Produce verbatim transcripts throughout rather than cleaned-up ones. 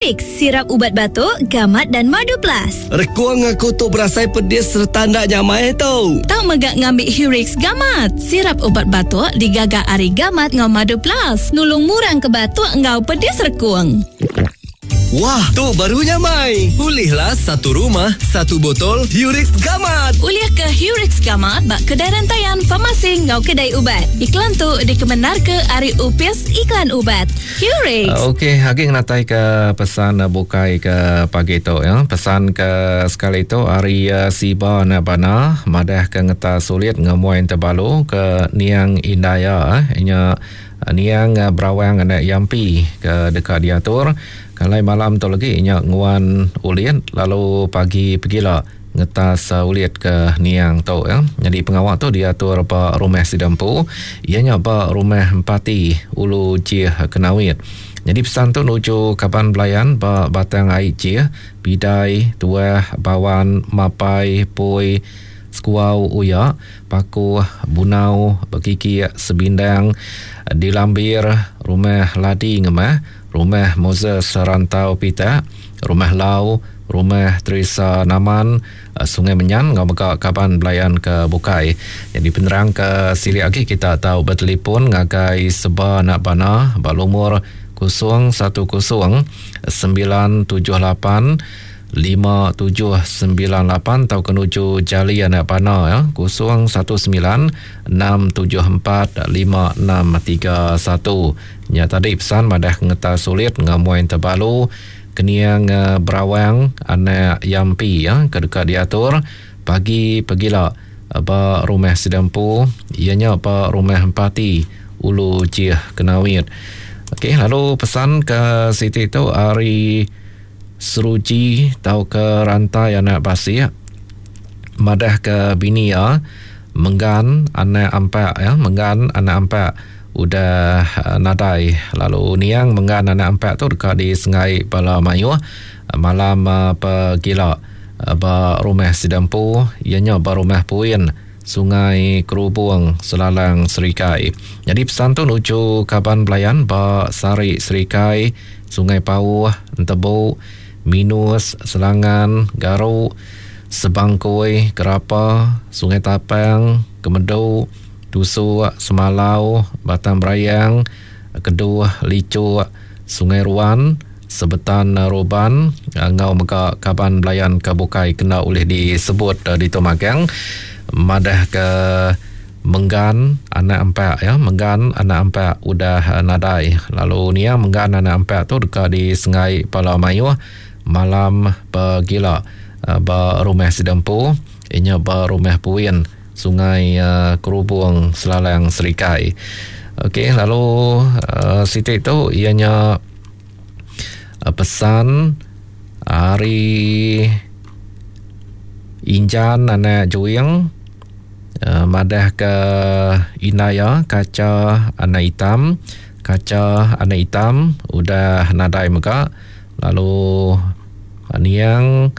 Hurix, sirap ubat batuk, gamat dan madu plus. Rekung aku tu berasai pedis serta ndak nyamai tu. Tau megak ngambil Hurix gamat. Sirap ubat batuk digaga ari gamat ngau madu plus. Nulung murang ke batuk ngau pedis rekung. Wah, tu baru nyamai. Ulihlah satu rumah, satu botol Hurix Gamat. Ulih ke Hurix Gamat bak kedai rantaian farmasi ngau kedai ubat. Iklan tu dikemenar ke ari Upis Iklan Ubat. Hurix. Uh, Okey, lagi ngatai ke pesan uh, bukai ke pagi tu ya. Pesan ke sekali tu ari uh, Siba anak bana madah ke ngeta sulit ngemuai terbalu ke Niang Indaya eh. Nya Niang Berawang anak Yampi ke dekat diatur. Kalai malam tu lagi nya nguan ulit lalu pagi pegila ngetas uh, ulit ke Niang tu ya. Jadi pengawal tu diatur ba rumah Sidampu, ianya ba rumah Empati Ulu Jih Kenawit. Jadi pesan tu nuju kaban belayan ba Batang Ai Jih, Bidai, Tuah, Bawan, Mapai, Pui, Sekuau Uya, Paku, Bunau, Bekiki, Sebindang, Dilambir, Rumah Ladi Ngemah, Rumah Moses Rantau Pita, Rumah Lau, Rumah Teresa Naman, Sungai Menyan, ngau mega kaban belayan ke Bukai. Jadi penerang ke silik lagi kita tahu bertelefon ngagai Seba Anak Bana balumur kosong satu kosong sembilan tujuh lapan lima tujuh sembilan lapan atau kenuju Jali Anak Bana ya kosong satu sembilan enam tujuh empat lima enam tiga satu. Nya tadi pesan madah ngeta sulit ngamuai terbalu Keniang Berawang anak Yampi ya ke dekat diatur pagi pegila ba rumah Sidampu ianya ba rumah Empati Ulu Jih Kenawit. Okey, lalu pesan ke Siti tu ari Seruji tau ke rantai anak Basik madah ke bini ya Menggan anak ampak ya Menggan anak ampak udah uh, nadai lalu Niang Menggan anak ampak tu dekat di Sengai Bala Mayuh malam uh, pegila uh, ba rumah Sidampu ianya ba rumah Puin Sungai Kerubung Selalang Serikai. Jadi pesan tu nuju kaban belayan ba Sari Serikai, Sungai Pauh, Entebu, Minus, Selangan, Garuk, Sebangkoi, Kerapa, Sungai Tapang, Kemedu, Tusuk, Semalau, Batang Berayang, Keduh, Licuk, Sungai Ruan, Sebetan Roban, ngau mega kaban belayan ke Bukai kena oleh disebut di Tomagang. Madah ke Menggan anak empat ya Menggan anak empat udah nadai lalu nia Menggan anak empat tu dekat di Sengai Pala Mayuh malam pegila ba rumah Sidampu inya ba rumah Puin Sungai Kerubung Selalang Serikai. Okey, lalu uh, Siti tu ianya uh, pesan hari Injan anak Juing uh, madah ke Inaya kaca anak hitam kaca anak hitam udah nadai mega lalu Niang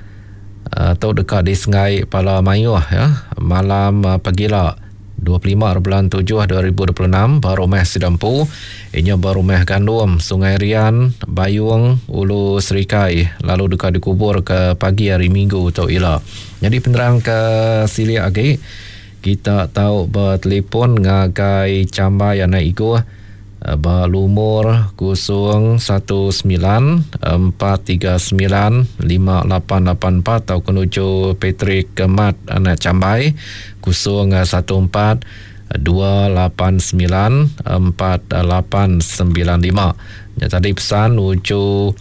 uh, tu dekat di Sengai Pala Mayuh ya malam uh, pegila dua puluh lima bulan tujuh dua ribu dua puluh enam ba rumah Sidampu inya ba rumah Gandum Sungai Rian Bayung Ulu Serikai lalu dekat dikubur ke pagi hari Minggu tu ila. Jadi penerang ke silik lagi kita tahu bertelefon ngagai Cambai anak Iguh ba lumur kosong satu sembilan empat tiga sembilan lima lapan lapan empat atau kenuju Patrick Kemat anak Cambai kosong satu empat dua lapan sembilan empat lapan sembilan lima. Ya tadi pesan nuju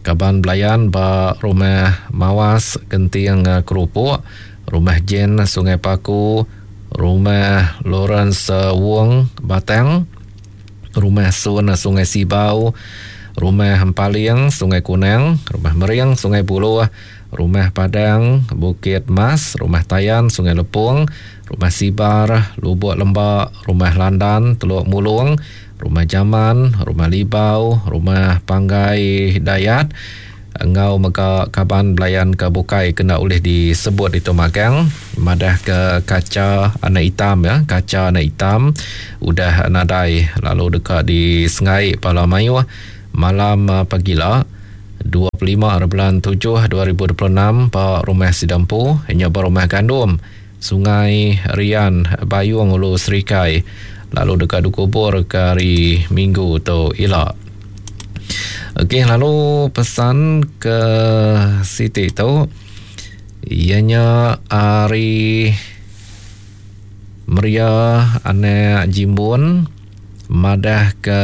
kaban belayan ba rumah Mawas Genting Kerupuk, rumah Jen Sungai Paku, rumah Lawrence Wong Batang, rumah Sun Sungai Sibau, rumah Empaling Sungai Kunang, rumah Mering Sungai Buluh, rumah Padang Bukit Mas, rumah Tayan Sungai Lepung, rumah Sibar Lubuk Lembak, rumah Landan Teluk Mulung, rumah Jaman, rumah Libau, rumah Panggai Dayat, ngau mega kaban belayan ke Bukai kena oleh disebut itu magang madah ke kaca anak hitam ya kaca anak hitam udah nadai lalu dekat di Sengai Pala Mayuh malam pagila dua puluh lima bulan tujuh dua ribu dua puluh enam ba Rumah Sidampu nya ba Rumah Gandum Sungai Rian Bayung Ulu Serikai lalu dekat dikubur ke hari Minggu tu ila. Okey, lalu pesan ke Siti tu ianya hari Maria anak Jimbun madah ke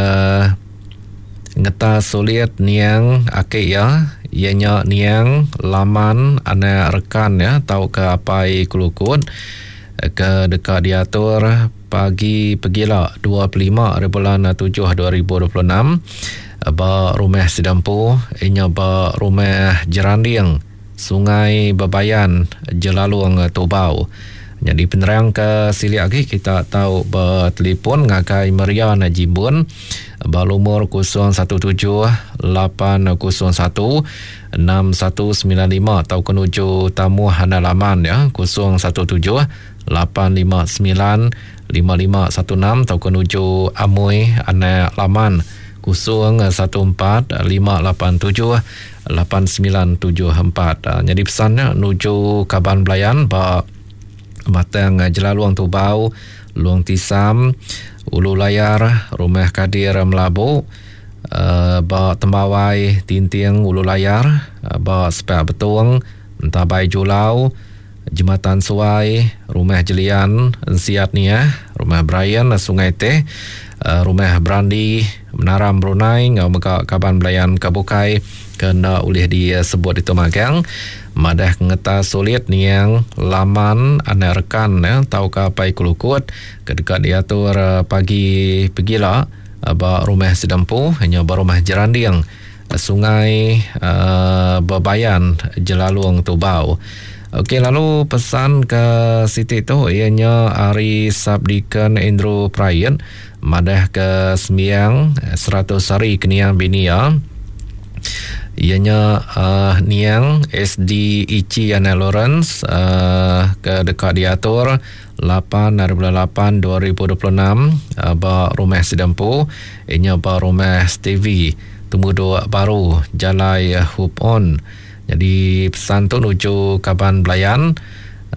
ngeta sulit niang aki ya ianya niang laman anak rekan ya tau ke apai kelukut ke dekat diatur pagi pegila dua puluh lima bulan tujuh dua ribu dua puluh enam ba Rumah Sidampu inya ba Rumah Jeranding Sungai Bebayan Jelalung Tubau. Jadi penerang ke silik lagi kita tahu bertelefon ngagai Maria anak Jimbun ba lumur kosong satu tujuh lapan kosong satu enam satu sembilan lima atau kenuju tamu hana laman ya kosong satu tujuh lapan lima sembilan lima lima satu enam atau kenuju Amoi anak laman kosong satu empat lima lapan tujuh lapan sembilan tujuh empat. Jadi pesannya nuju kaban belayan ba Batang Jelalung Tubau, Luang Tisam, Ulu Layar, Rumah Kadir Melabu, uh, ba Tembawai Tinting Ulu Layar, uh, ba Sepak Betung, Entabai Julau, Jembatan Suai, Rumah Jelian, Ensiat Nia, Rumah Brian, Sungai Teh, uh, Rumah Brandi, Menaram Brunei, ngau mega kaban belayan Kabukai kena ulih disebut itu magang. Madah ngeta sulit niang laman anak rekan ya tau ke apai kelukut kedekat diatur pagi pegila ba Rumah Sidampu hanya ba Rumah Jeranding Sungai uh, Bebayan Jelalung Tubau. Okey, lalu pesan ke Siti tu ianya ari Subdeacon Andrew Pryan madah ke sembiang seratus hari keniang binia ianya uh, niang S D Ichi Anak Lawrence uh, ke dekat diatur lapan bulan lapan dua ribu dua puluh enam uh, ba Rumah Sidampu ianya ba Rumah Stevie Temuduk Baru Jalai Hoop On. Jadi pesan tu nuju kaban belayan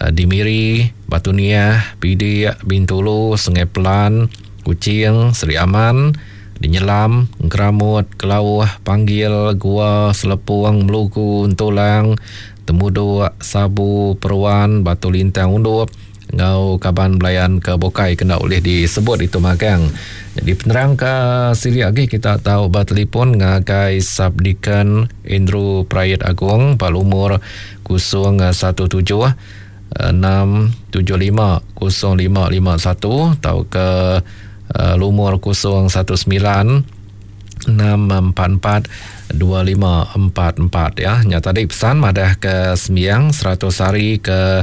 uh, di Miri, Batu Niah, Pidik, Bintulu, Sungai Pelan, Kuching, Seri Aman, Dinyelam, Keramut, Kelauh, Panggil, Gua, Selepung, Melugu, Entulang, Temuduk, Sabu, Peruan, Batu Lintang, Undup, ngau kaban belayan ke Bokai kena oleh disebut itu magang. Jadi penerang ke silik lagi kita tahu bertelefon ngagai Subdeacon Andrew Prayet Agung palumur kosong satu tujuh enam tujuh lima kosong lima lima satu atau ke Uh, lumur kosong satu sembilan enam empat empat dua lima empat empat ya. Nya tadi pesan madah ke sembiang seratus hari ke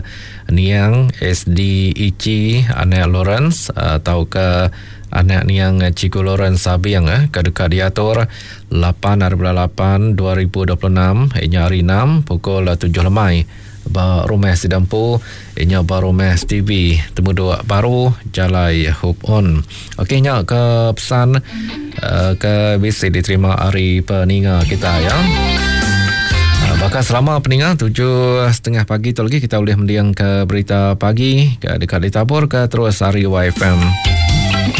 niang S D Ichi anak Lawrence atau ke anak niang Cikgu Lawrence Sabiang eh ke dekat diatur lapan bulan lapan dua ribu dua puluh enam inya hari enam pukul tujuh lemai ba Rumah Sidampu inya ba Rumah Stevie Temuduk Baru Jalai Hope On. Okey nya ke pesan uh, ke bisi diterima hari peninga kita ya. Uh, bakal selama peninga tujuh setengah pagi tu lagi kita boleh mendiang ke berita pagi ke dekat ditabur ke terus hari Y F M.